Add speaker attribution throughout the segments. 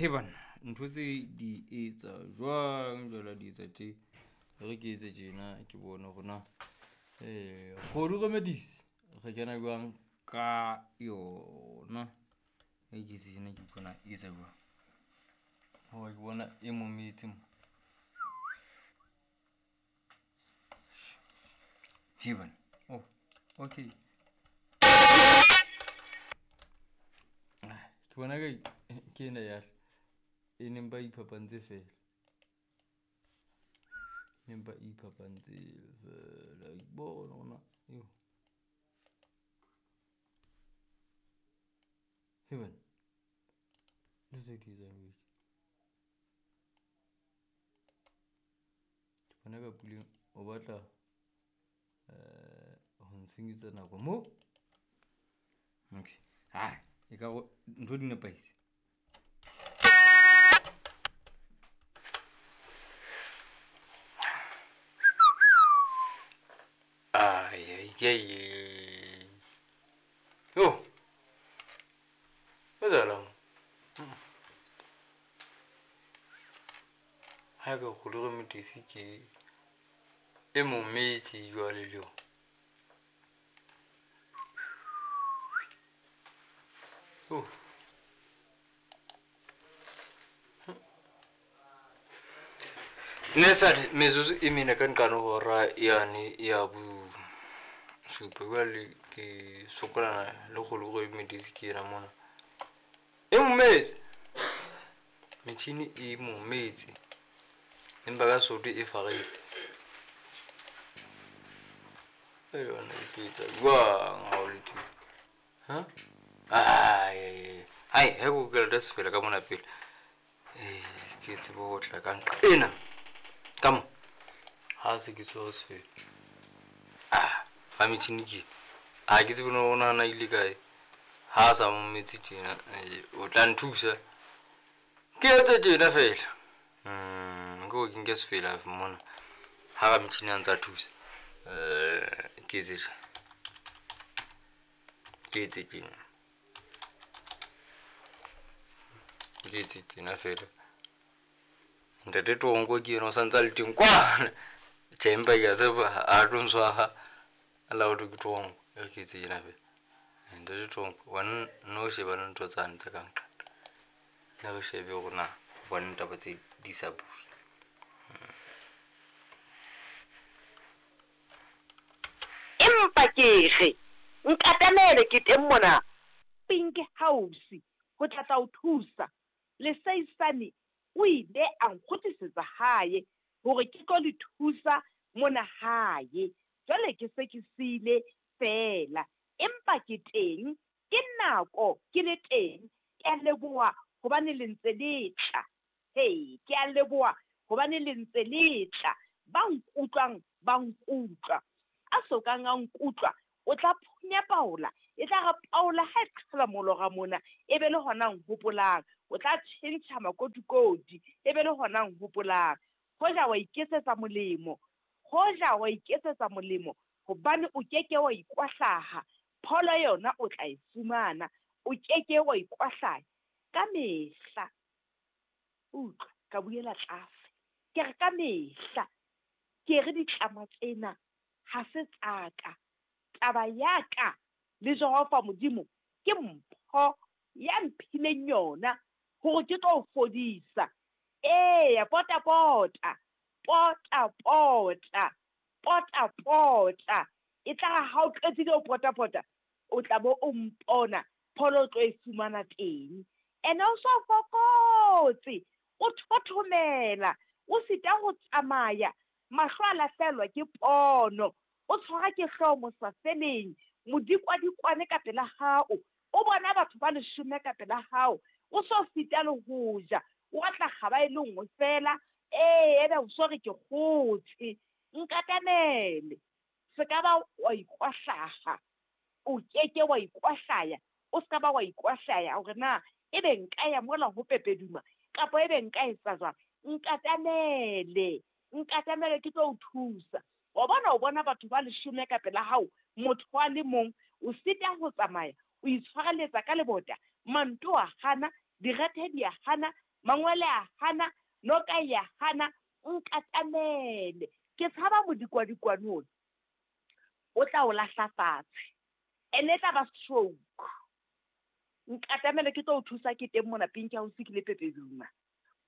Speaker 1: He banna, ntho tse di etsa jwang jwale ha di etsa tje? E re ke etse tjena ke bone hore na Kgodu Remedies re kena jwang ka yona. E ke etse tjena ke utlwe na e etsa jwang. Hoba ke bona e mometse mo. He banna, oh okay. Ke bona ka ke ena ya e neng ba iphapantse fela. Empa iphapantse fela. Bona hore na eo. He banna. Ntho tse di etsang jwetse. Ke bona ka Puleng o batla ho ntshenyetsa nako mo. Okay. Hai, e ka re ntho di nepahetse. Ai ai ai. Yo. Etsahalang? Ha ka Kgodu Remedies ke e mometse jwale le yona. Oh. Ne sale metsotso e mene ka nqane hora yane ya bosupa. Jwale ke sokolana le Kgodu Remedies ke ena mona. E mometse. Metjhini e mometse. Empa ka Sesotho e faretse. E yona e tlo etsa jwang ha o le tje? Ha? Ai, hai, ha ke lata sefela ka mona pele. Ke tsebe ho tla ka nqa ena. Ka mo. Ha se ke tshwere sefela. Ah, ga metjhini ke. Ha ke tsebe no nahana ile kae. Ha sa mometse tjena, o tla nthusa. Ke etse tjena fela. Ke hore ke nke sefela mona. Ha ra metjhini a ntsa thusa. Ke etse tjena. Ke etse tjena. Ke etse tjena fela. Ntate Tonko ke yena o santse a le teng kwana. Tjhe, empa ke a tshepa ha tlo ntshwara a la hothwe ke Tonko. E re ke etse tjena fela. Ntate Tonko, wena no shebane le ntho tsane tse ka nqane. Ne re shebe hore na hobaneng taba tse di sa bue.
Speaker 2: Empa ke re, Nkatamele, ke teng mona. Pink House ho tla tla o thusa. Leseisane o ile a nkgutlisetsa hae hore ke tlo le thusa mona hae. Jwale ke se ke siile feela. Empa ke teng, ke nako ke le teng. Ke a leboha hobane le ntse le tla. He, ke a leboha hobane le ntse le tla. Ba nkutlwang ba nkutlwa. A sokang a nkutlwa o tla phunya paola. E tla re paola ha e qhala molora mona, e be le hona nhopolang. O tla tjhentjha makotikoti, e be le hona nhopolang. Hoja wa iketsetsa molemo, hoja wa iketsetsa molemo, hobane o keke wa ikwahlaha. Pholo yona o tla e fumana, o keke wa ikwahlaya. Ka mehla, utlwa, ka buela tlase. Ke re ka mehla, ke re ditlama tsena ha se tsa ka. Taba ya ka le Jehova Modimo ke mpho ya mphileng yona hore ke tlo o fodisa. Eya, pota pota, pota pota, pota pota. E tla re ha o qetile ho pota pota, o tla bo o mpona pholo o tlo e fumana teng. Ene o so fokotse, o thothomela, o sita ho tsamaya, mahlo a lahlehelwa ke pono, o tshwara ke hlooho mosafeleng, modikwadikwane ka pela hao, o bona batho ba leshome ka pela hao, o so sita le ho ja, o atla kgaba e le nngwe fela, ee, ebe o so re ke kgotshe. Nkatamele, se ka ba wa ikwahlaha, o keke wa ikwahlaya, o se ka ba wa ikwahlaya hore na ebe nka ya mola ho Pepeduma kapa ebe nka etsa jwang. Nkatamele, nkatamele ke tlo o thusa. Wa bona o bona batho ba leshome ka pela hao, motho a le mong o sita ho tsamaya, o itshwareletsa ka lebota, manto a hana, direthe di a hana, Mangwele a hana, noka e a hana, nkatamele. Ke tshaba modikwadikwane ona o tla o lahla fatshe, ene e tla ba stroke. Nkatamele ke tlo o thusa ke teng mona Pink House ke le Pepeduma.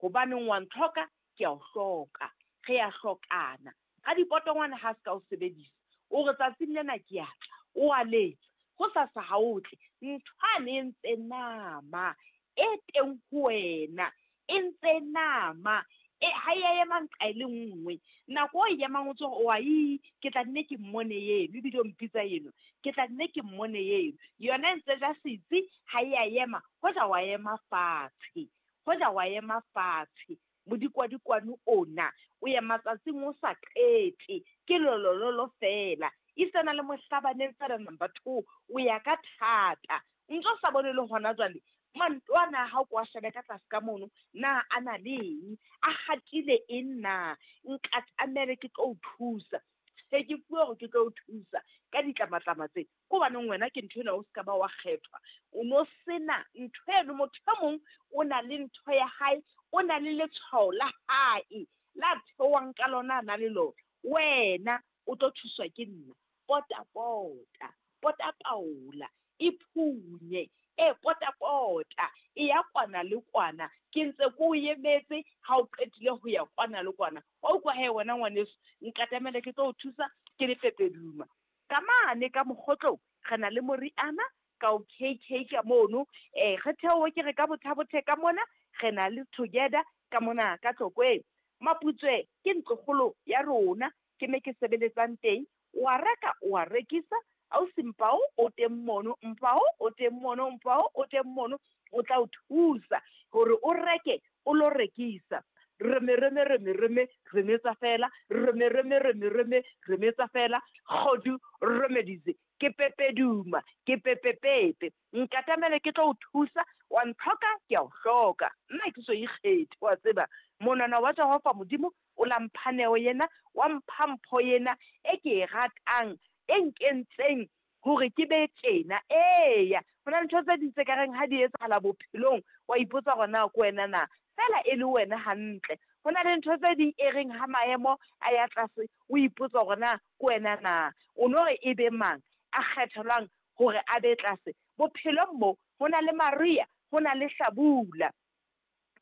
Speaker 2: Hobaneng wa ntlhoka, ke a o hloka. Re a hlokana. Radipotongwane ha a se ka o sebedisa. O re tsatsing lena ke a tla. O a letsa. Hosasa ha o tle. Nthwane e ntse nama e teng ho wena. E ntse nama. E, ha e a ema nqa e le nngwe. Nako o e emang o tso re, Oai, ke tla nne ke mmone eno. Ebile o mpitsa eno. Ke tla nne ke mmone eno. Yona e ntse ja setsi, ha e a ema. Hoja wa ema fatshe. Hoja wa ema fatshe. Modikwadikwane ona o ya matsatsing o sa qete, ke lolololo feela. Esitana le mohlabaneng feela number two, o ya ka thata. O ntse o sa bone le hona jwale, manto ana a hao ko a shebe ka tlase ka mono, na a na le eng, a hatile eng na? Nkatamele ke tlo o thusa. Tjhe, ke fuwe hore ke tlo o thusa ka ditlamatlama tse. Ke hobaneng wena ke ntho ena o se ka ba wa kgethwa? O no sena ntho eno. Motho e mong o na le ntho ya hae, o na le letshwao la hae la theohang ka lona a na le lona. Wena o tlo thuswa ke nna. Pota pota, pota paola, e phunye, e pota pota, e ya kwana le kwana. Ke ntse ke o emetse ha o qetile ho ya kwana le kwana. Wa utlwa he wena ngwaneso, nkatamele ke tlo o thusa ke le Pepeduma. Ka mane ka mokgotlong re na le moriana ka o KK ka mono. E, re theohe ke re ka Bothabothe ka mona re na le Together ka mona ka Tlokweng. Maputswe ke ntlokgolo ya rona, ke me ke sebeletsang teng. O a reka, o a rekisa. Ausi Mpao o teng mono, Mpao o teng mono, Mpao o teng mono, o tla o thusa hore o reke o lo rekisa. Reme reme reme reme remetsa fela reme reme reme reme remetsa fela kgodu remedies ke pepeduma ke pepepepe nkatamele ke tlo o thusa wa ntlhoka ke a o hloka nna ke so ikgethe wa tseba monwana wa Jehova Modimo o la mpha neo yena wa mpha mpho yena e ke e ratang e nkentseng hore ke be tjena. Eya, ho na le ntho tse ding tse ka reng ha di etsahala bophelong, wa ipotsa hore na ke wena na. Feela e le wena hantle. Ho na le ntho tse ding e reng ha maemo a ya tlase, o ipotsa hore na ke wena na. O no re e be mang a kgethelwang hore a be tlase. Bophelong mo, ho na le mariha, ho na le hlabula.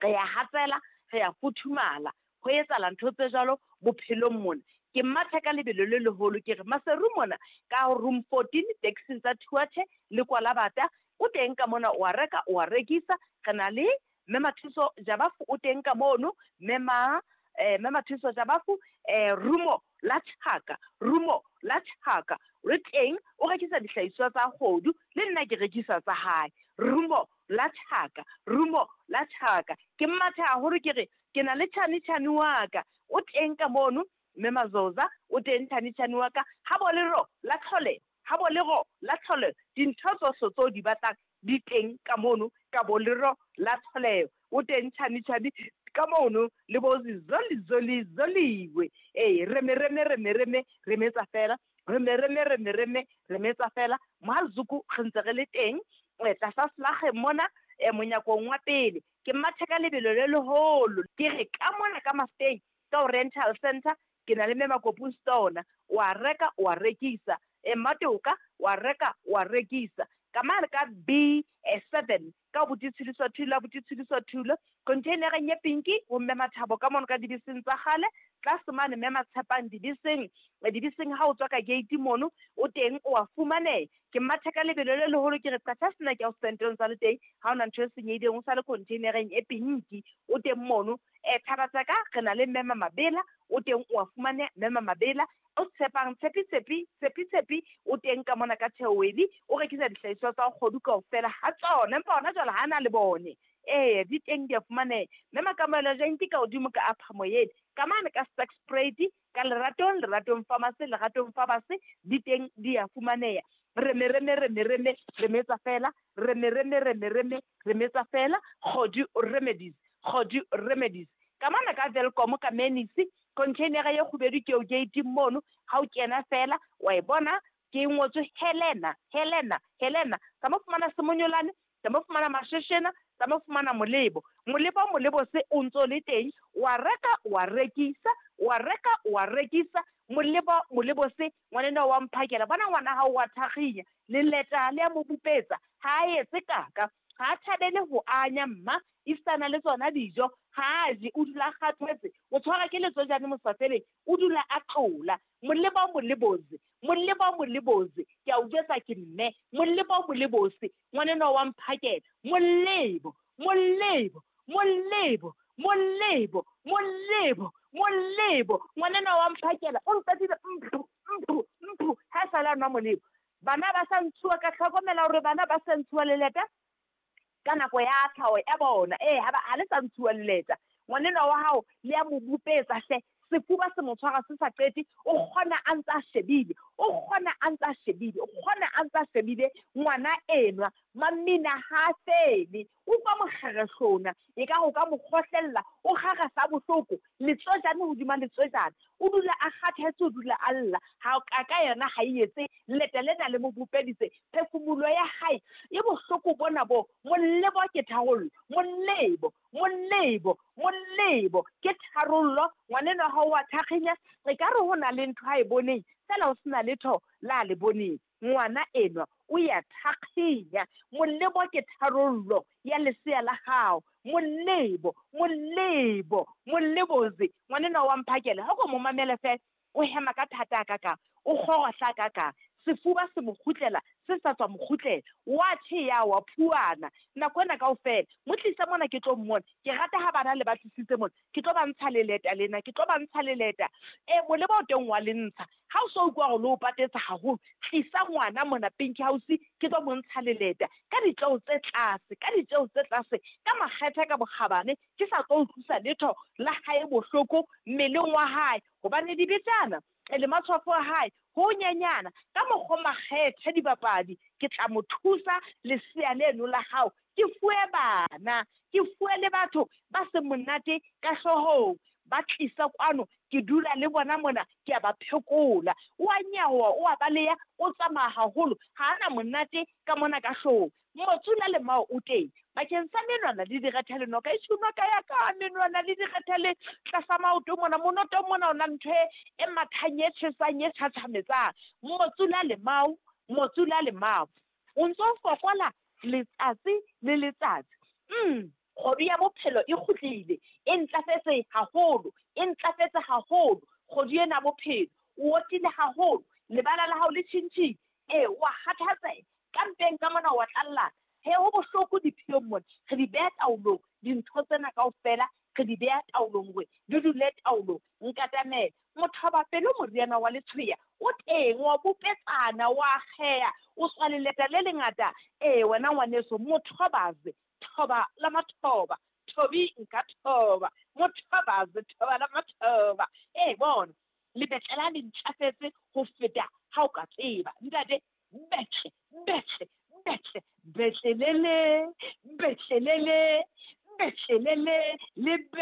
Speaker 2: Re ya hatsela, re ya futhumala. Ho etsahala ntho tse jwalo bophelong mona. Ke matha ka lebelo le leholo ke re Maseru mona ka room 14 taxing tsa Thuathe le Kwalabata o teng ka mona o a reka o a rekisa. Re na le Mme Mathuso Jabafu o teng ka mono, Mme Ma eh, Mme Mathuso Jabafu eh, rumo la tjhaka, rumo la tjhaka re teng o rekisa dihlahiswa tsa kgodu le nna ke rekisa tsa hae. Rumo la tjhaka, rumo la tjhaka. Ke matha haholo ke re ke na le tjhani tjhani wa ka o teng ka mono, Mme Mazoza o teng tjhani tjhani wa ka. Ha bo lero la tlholeho, ha bo lero la tlholeho, dintho tsohle tseo di batlang di teng ka mono ka bo lero la tlholeho. O teng tjhani tjhani ka mono le bo zoli zoli zoliwe. Ee, reme reme reme reme remetsa fela, reme reme reme reme remetsa fela. Mohazuku re ntse re le teng tlasa selakgeng mona monyakong wa pele. Ke mathe ka lebelo le leholo. Ke re ka mona ka Mafeteng ka Oriental Centre ke na le Mme Makopu Stona. O a reka o a rekisa. Mmatoka o a reka o a rekisa. Ka mane ka B7 ka Abuti Tshidiso Thulo, Abuti Tshidiso Thulo, container-eng ye pinki ho Mme Mathabo ka mono ka dibeseng tsa kgale, tlase mane Mme Matshepang dibeseng, dibeseng ha o tswa ka gate mono o teng o a fumaneha. Ke matha ka lebelo le leholo ke re qatha sena ke ausenteng sa le teng ha ona ntho e senyehileng o sa le containereng e pinki o teng mono. Thaba tsa ka re na le Mme Mamabela o teng o a fumaneha Mme Mamabela o tshepang Tshepi Tshepi Tshepi Tshepi o teng ka mona ka Theoweli o rekisa dihlahiswa tsa kgodu kaofela ha tsona empa hona jwale ha na le bone. Ee di teng di a fumaneha. Mme Makamohelo Janki ka hodimo ka Upper Moyedi ka mane ka Sterkspruit ka Leratong Leratong Pharmacy Leratong Pharmacy di teng di a fumaneha. Reme reme reme reme remetsa fela reme reme reme reme remetsa fela Kgodu Remedies Kgodu Remedies ka mona ka Welkom ka Menisi containera ye kgubedu ke eo gate mono ha o kena fela wa e bona ke ngotswe Helena Helena Helena ka mo fumana Semonyolane ka mo fumana Masheshena Tsamaya o fumana molebo. Molebo molebo se o ntso le teng, wa reka wa rekisa, wa reka wa rekisa. Molebo molebo se ngwanenwa wa mphakela. Bona ngwana hao wa thakginya, leleta le a mo bupetsa, ha a etse kaka. Ga a thabele go anya mma, esitana le tsona dijo ga a je, o dula a kgathetse, o tshwarwa ke letsojane mosafeleng, o dula a tlola. Moleba o molebozi, moleba o molebozi, ke a o jwetsa ke mme, moleba o molebosi, ngwanenwa wa mphakela, molebo, molebo, molebo, molebo, molebo, molebo, ngwanenwa wa mphakela, o nqetile mphu, mphu, mphu, ha e sa le a nwa molebo. Bana ba sa ntshuwa, ka hlokomela hore bana ba sa ntshuwa leleta ka nako ya tlhaho ya bona. Ee, ha ba, ha le sa ntshuwa leleta. Ngwanenwa wa hao le a mo bupetsa hle, sefuba se mo tshwara se sa qete, o kgona a ntse a shebile, o kgona a ntse a shebile, o kgona a ntse a shebile ngwana enwa. Mamina ha a fele, utlwa mokgerehlona, ekare o ka mo kgohlella, o kgara sa bohloko, letswejane hodima letswejane. O dula a kgathetse, o dula a lla. Ha kaka yona ha e etse, leta lena le mo bopeditse. Phefumoloho ya hae e bohloko bona bo. Molebo ke tharollo, molebo, molebo, molebo ke tharollo. Ngwanenwa hao wa thakginya, ekare ho na le ntho a e boneng, feela ho se na letho la le boneng. Ngwana enwa o ya thakginya. Molebo ke tharollo ya lesea la hao. Molebo, molebo, molebozi. Ngwanenwa wa mphakela, ha o ko mo mamele feela, o hema ka thata hakakang, o kgorohla hakakang. Sefuba se mo kgutlela, se sa tswa mo kgutlela. Wa tjhe ya wa phuana. Nako ena kaofela, mo tlise mona ke tlo mmona. Ke rata ha bana le ba tlisitse mona. Ke tlo ba ntsha leleta lena, ke tlo ba ntsha leleta. E, molebo o teng wa le ntsha. Ha o so utlwa hore le o patetse haholo, tlisa ngwana mona Pinky House, ke tlo mo ntsha leleta ka ditjeo tse tlase, ka ditjeo tse tlase, ka makgethe ka bokgabane, ke sa tlo utlwisa letho la hae bohloko mmeleng wa hae, hobane dibetjana le matshwafo a hae ho nyenyana, ka mokgwa makgethe dibapadi, ke tla mo thusa lesea leno la hao, ke fuwe bana, ke fuwe le batho ba seng monate ka hloohong, ba tlisa kwano, ke dula le bona mona, ke a ba phekola. O a nyaowa, o a baleha, o tsamaya haholo, ha a na monate ka mona ka hloohong. Motsula le mao o teng bakeng sa menwana le direthe le noka. Eshu noka ya ka, menwana le direthe le tlasa maoto mona, monotong mona o na ntho e mathang, e tjhesang, e tjhatjhametsang. Motsula le mao, motsula le mao. O ntso fokola letsatsi le letsatsi. Kgodu ya bophelo e kgutlile, e ntlafetse haholo, e ntlafetse haholo, kgodu ena ya bophelo. O otile haholo, lebala la hao le tjhintjhile, ee, wa kgathatseha, ka mpeng ka mona wa tlallana. He, ho bohloko dipheong mona, re di beha taolong, dintho tsena kaofela re di beha taolong hore di dule taolong. Nkatamele, mothoba pelo moriana wa letshweya o teng, wa bopetsana, wa akgeha, o tswa leleta le lengata. Ee, wena ngwaneso, mothobaze, thoba la mathoba, thobi nka thoba, mothobaze, thoba la mathoba. Ee, bona, lebetlela le ntlafetse ho feta ha o ka tseba. Ntate, betle, betle, betle, betlelele, betlelele, betlelele.